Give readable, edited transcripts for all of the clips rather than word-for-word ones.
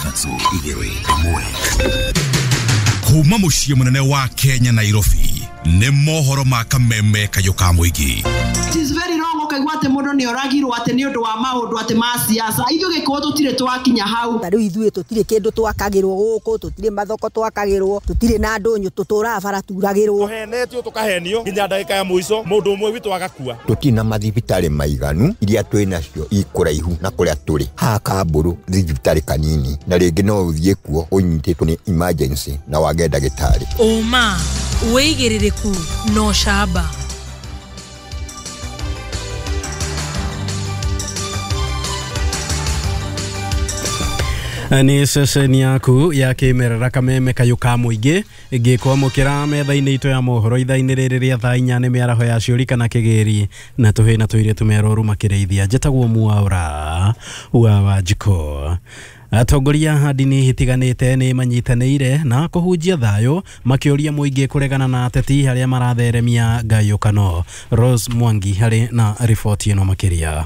3 2 1. Kuma muciĩ mũnene wa Kenya Nairobi nĩ mohoro ma kameme kayũ ka mũingĩ. It is very wrong ukaigua atĩ mũndũ nĩ oragirwo atĩ nĩ ũndũ wa maũndũ atĩ ma siasa. Ithuĩ gĩkũyũ tũtirĩ twakinya hau. Ta rĩu ithuĩ tũtirĩ kĩndũ twakagĩrwo gũkũ, tũtirĩ mathoko twakagĩrwo, tũtirĩ na ndũnyũ, tũtũraga bara turagĩrwo. Tũhenetio tũkahenio nginya ndagĩka ya mũico mũndũ ũmwe witũ agakua. Tũtirĩ na mathibitarĩ maiganu iria twĩ nacio ikũraihu na kũrĩa tũrĩ. Haha Kambũrũ thibitarĩ kanini na rĩngĩ no ũthiĩ kuo ũnyitĩtwo nĩ emergency na wage ndagĩtarĩ. Ũma wĩigĩrĩrĩku na ũcamba. Nĩ ceceni yaku ya kĩmerera kameme kayũ ka mũingĩ ngĩkwamũkĩra metha-inĩ itũ ya mohoro ithaa-inĩ rĩrĩ rĩa thaa 4 nĩ mĩaraho ya ciũri kana kĩgĩri na tũhĩ na tũirĩtu meroru makĩrĩithia. Njĩtagwo Mwaura wa Wanjikũ. Atongoria a ndini itiganĩte nĩ manyitanĩire na kũhunjia thayũ makĩũria mũingĩ kũregana na ateti arĩa maratheremia ngayũkano. Rose Mwangi harĩ na riboti ĩno makĩria.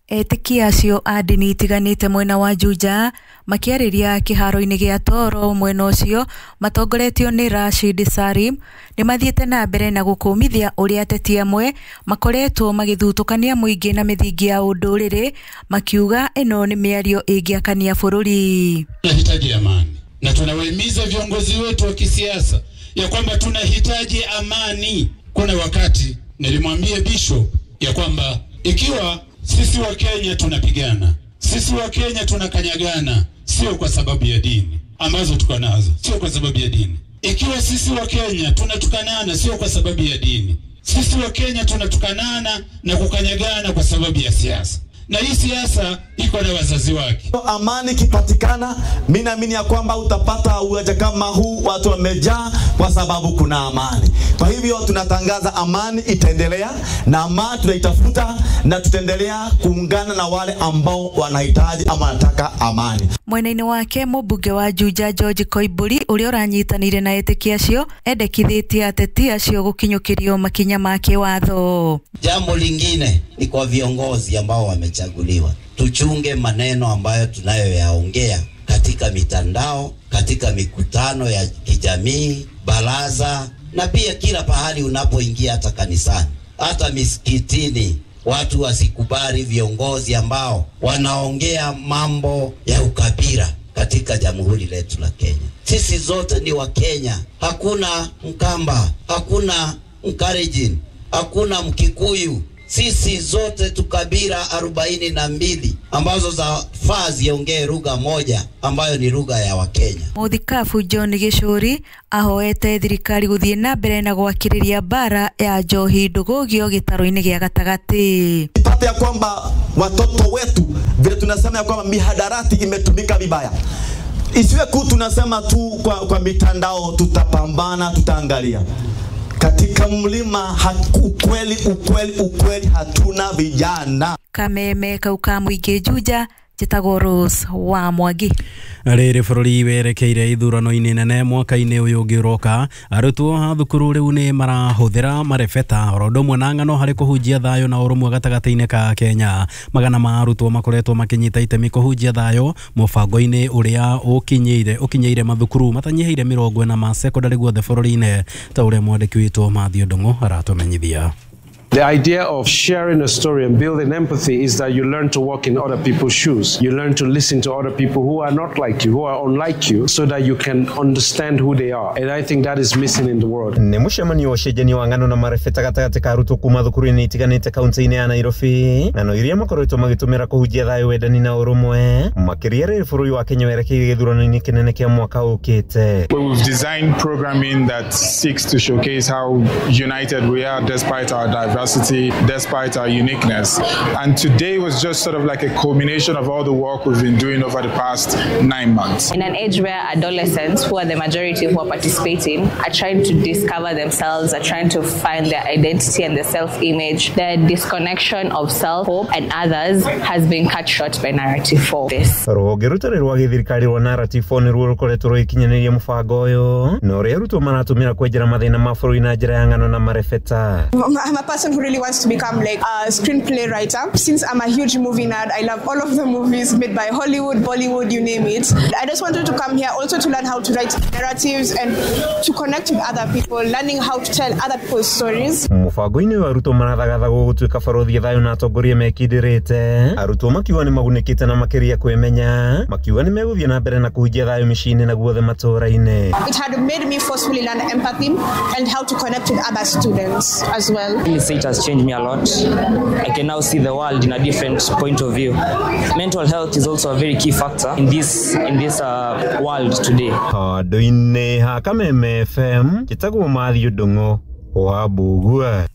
Etĩkia acio a ndini itiganĩte mwena wa Juja makĩarĩria kĩharo-inĩ gĩa Toro mwena ũcio matongoretio nĩ Rashid Salim nĩ mathiĩte na mbere na gũkũmithia ũrĩa ateti amwe makoretwo magĩthutũkania mũingĩ na mĩthingi ya ũndũrĩrĩ makiuga ĩno nĩ mĩario ĩngĩakania bũrũri. Tunahitaji amani na tunawahimiza viongozi wetu wa kisiasa ya kwamba tunahitaji amani. Kuna wakati nilimwambia Bishop ya kwamba ikiwa sisi wa Kenya tunapigana, sisi wa Kenya tunakanyagana, sio kwa sababu ya dini ambazo tuko nazo, sio kwa sababu ya dini. Ikiwa sisi wa Kenya tunatukanana, sio kwa sababu ya dini. Sisi wa Kenya tunatukanana na kukanyagana kwa sababu ya siasa. Na hii siasa iko na wazazi wake. Amani kipatikana, mimi naamini ya kwamba utapata uwanja kama huu watu wamejaa kwa sababu kuna amani. Kwa hivyo tunatangaza amani itaendelea na amani tunaitafuta na tutaendelea kuungana na wale ambao wanahitaji ama wanataka amani. Mwena-inĩ wake mũmbunge wa Juja George Koimburi ũrĩa ũranyitanĩire na etĩkia acio endekithĩtie ateti acio gũkinyũkĩrio makinya ma kĩwatho. Jambo lingine ni kwa viongozi ambao wamechaguliwa, tuchunge maneno ambayo tunayoyaongea katika mitandao, katika mikutano ya kijamii, baraza na pia kila pahali unapoingia, hata kanisani, hata misikitini. Watu wasikubali viongozi ambao wanaongea mambo ya ukabila katika jamhuri letu la Kenya. Sisi zote ni wa Kenya. Hakuna Mkamba, hakuna Mkalenjin, hakuna Mkikuyu. Sisi zote tukabila 42 ambazo za faa ziongee lugha moja ambayo ni lugha ya Wakenya. Mũthikabu John Gĩcũri ahoete thirikari gũthiĩ na mbere na gwakĩrĩria mbara ya njohi ndũgũgio gĩtarũ-inĩ gĩa gatagatĩ. Ipate ya kwamba watoto wetu vile tunasema ya kwamba mihadarati imetumika vibaya. Isiwe ku tunasema tu kwa mitandao, tutapambana, tutaangalia. Katika mlima ukweli ukweli ukweli hatuna vijana. Kameme kauka mũingĩ Juja, njĩtagwo Rose wa Mwangi. Rĩrĩ bũrũri werekeire ithurano-inĩ nene mwaka-inĩ ũyũ ũngĩ ũroka, arutwo a thukuru rĩu nĩ marahũthĩra marebeta oro ũndũ ũmwe na ng'ano harĩ kũhunjia thayũ na ũrũmwe gatagatĩ-inĩ ka Kenya. Magana ma arutwo makoretwo makĩnyita itemi kũhunjia thayũ mũbango-inĩ ũrĩa ũkinyĩire mathukuru matanyihĩire 40 ma secondary guothe bũrũri-inĩ, ta ũrĩa mwandĩki witũ Matthew Ndung'u aratũmenyithia. The idea of sharing a story and building empathy is that you learn to walk in other people's shoes. You learn to listen to other people who are not like you, who are unlike you, so that you can understand who they are. And I think that is missing in the world. Nĩ mũcemanio ũcenjania wa ng'ano na marebeta gatagatĩ ka arutwo kuma thukuru-inĩ itiganĩte kaunti-inĩ ya Nairobi. Ng'ano iria makoretwo magĩtũmĩra kũhunjia thayũ, wendani na ũrũmwe, makĩria rĩrĩ bũrũri wa Kenya werekeire gĩthurano-inĩ kĩnene kĩa mwaka ũkĩte. We've designed programming that seeks to showcase how united we are despite our diversity, despite our uniqueness. And today was just sort of like a culmination of all the work we've been doing over the past 9 months. In an age where adolescents, who are the majority who are participating, are trying to discover themselves, are trying to find their identity and their self-image, the disconnection of self-hope and others has been cut short by Narrative 4. This. Rũhonge rũtarĩ rwa gĩthirikari rwa Narrative 4 nĩruo rũkoretwo rũgĩkinyanĩria mũbango ũyũ, na ũrĩa arutwo maratũmĩra kwenjera mathĩna ma bũrũri na njĩra ya ng'ano na marebeta. I'm a person who really wants to become like a screenplay writer. Since I'm a huge movie nerd, I love all of the movies made by Hollywood, Bollywood, you name it. I just wanted to come here also to learn how to write narratives and to connect with other people, learning how to tell other people's stories. Mũbango-inĩ ũyũ arutwo marathagathagwo gũtuĩka barothi thayũ na atongoria mekindĩrĩte. Arutwo makiuga nĩ magunĩkĩte na makĩria kwĩmenya, makiuga nĩ megũthiĩ na mbere na kũhunjia thayũ mĩciĩ-inĩ na guothe matũũra-inĩ. It had made me forcefully learn empathy and how to connect with other students as well. It has changed me a lot. I can now see the world in a different point of view. Mental health is also a very key factor in this world today. Handũ-inĩ ha Kameme FM, njĩtagwo Matthew Ndung'u wa Mbugua.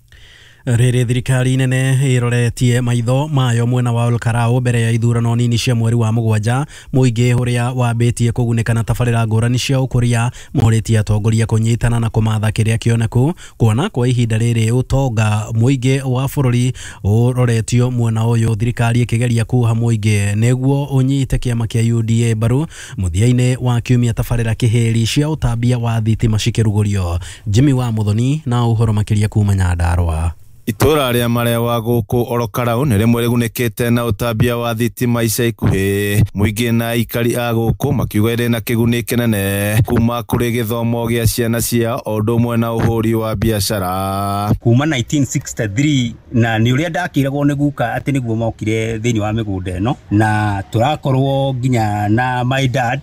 Rĩrĩ thirikari nene ĩroretie maitho mayo mwena wa Olkarau mbere ya ithurano nini cia mweri wa mũgwanja. Mũingĩ ũrĩa wambĩtie kũgunĩka na tabarĩra ngũrani cia ũkũria morĩtie atongoria kũnyitana na kũmatha kĩrĩa kĩoneku, kuona kwa ihinda rĩrĩ ũtonga mũingĩ wa bũrũri ũroretio mwena ũyũ, thirikari ĩkĩgeria kuha mũingĩ nĩguo ũnyite kĩama kĩa UDA mbaru. Mũthia-inĩ wa kiumia tabarĩra kĩhĩri cia ũtambia wa thitima cikĩrugũrio. Jimmy wa Muthoni na ũhoro makĩria kuma Nyandarũa. Itũra rĩa Marewa gũkũ Olokarau nĩ rĩmwe rĩgunĩkĩte na ũtambia wa thitima ica ikuhĩ. Mũingĩ na aikari a gũkũ makiuga ĩrĩ na kĩguni kĩnene kuma kũrĩ gĩthomo gĩa ciana ciao o ũndũ ũmwe na ũhũri wa biacara. Kuma 1963 na nĩ ũrĩa ndakĩragwo nĩ guka atĩ nĩguo mokire thĩinĩ wa mĩgũnda ĩno, na tũrakorwo nginya na my dad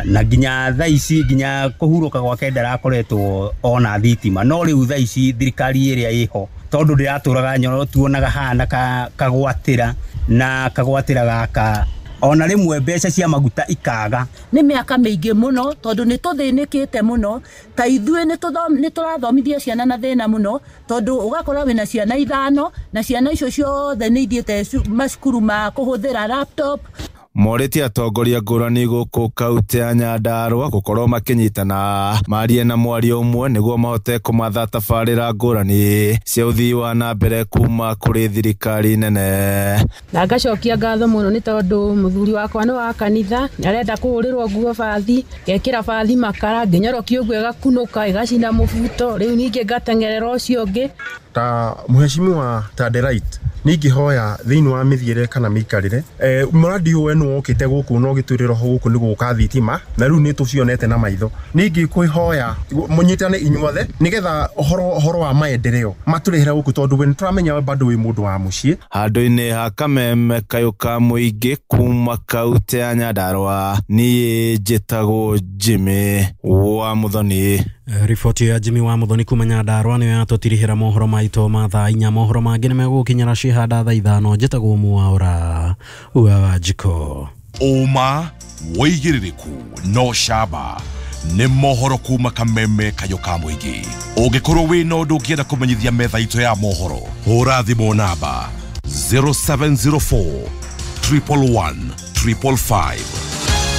na nginya thaa ici nginya kũhurũka gwake ndarakoretwo ona thitima. No rĩu thaa ici thirikari ĩrĩa ĩho tondu ndiratũraga nyono tuonaga hana kagwatĩra na kagwatĩra gaka ona rĩmwe mbeca cia maguta ikaga. Nĩ mĩaka mĩingĩ mũno tondũ nĩ tũthĩnĩkĩte mũno, ta ithuĩ nĩ tũrathomithia ciana na thĩna mũno, tondũ ũgakora wĩna ciana 5 na ciana icio ciothe nĩ ithiĩte macukuru ma kũhũthĩra laptop. Morĩtie atongoria ngũrani gũkũ kaunti ya Nyandarũa gũkorwo makĩnyitana marie na mwario ũmwe nĩguo mahote kũmatha tabarĩra ngũrani cia ũthii wa na mbere kuma kũrĩ thirikari nene. Na ngacokia ngatho mũno nĩ tondũ mũthuri wakwa nĩ wa kanitha, arenda kũhũrĩrwo nguo bathi, ngekĩra bathi makara, ngĩnyorokia ũguo ĩgakunũka ĩgacina mũbuto, rĩu ningĩ ngateng'erera ũcio ũngĩ. Ta mheshimiwa Tadelight ningĩhoya thĩinĩ wa mĩthiĩre kana mĩikarĩre mũradi ũyũ nĩ wokĩte gũkũ no gĩtwĩrĩra ho gũkũ nĩ gũka thitima na rĩu nĩ tũcionete na maitho. Ningĩ kwĩhoya mũnyitane inyuothe nĩgetha ũhoro wa maendeleo matũrehera gũkũ tondũ we nĩtũramenya bado wĩ mũndũ wa mũciĩ. Handũ-inĩ ha Kameme kayũ ka mũingĩ kuma kaunti ya Nyandarũa, niĩ njĩtagwo Jimmy wa Muthoni. Riboti ya Jimmy wa Muthoni kuma Nyandarũa nĩyo yatũtirihĩra mohoro maitũ ma thaa 4. Mohoro mangĩ nĩ megũgũkinyĩra cihanda thaa 5. Njĩtagwo Mwaura wa Wanjikũ. Ũma wĩigĩrĩrĩku no camba nĩ mohoro kuma Kameme kayũ ka mũingĩ. Ũngĩkorwo wĩna ũndũ ũngĩenda kũmenyithia metha itũ ya mohoro, hũra thimũ namba 0704 111 555.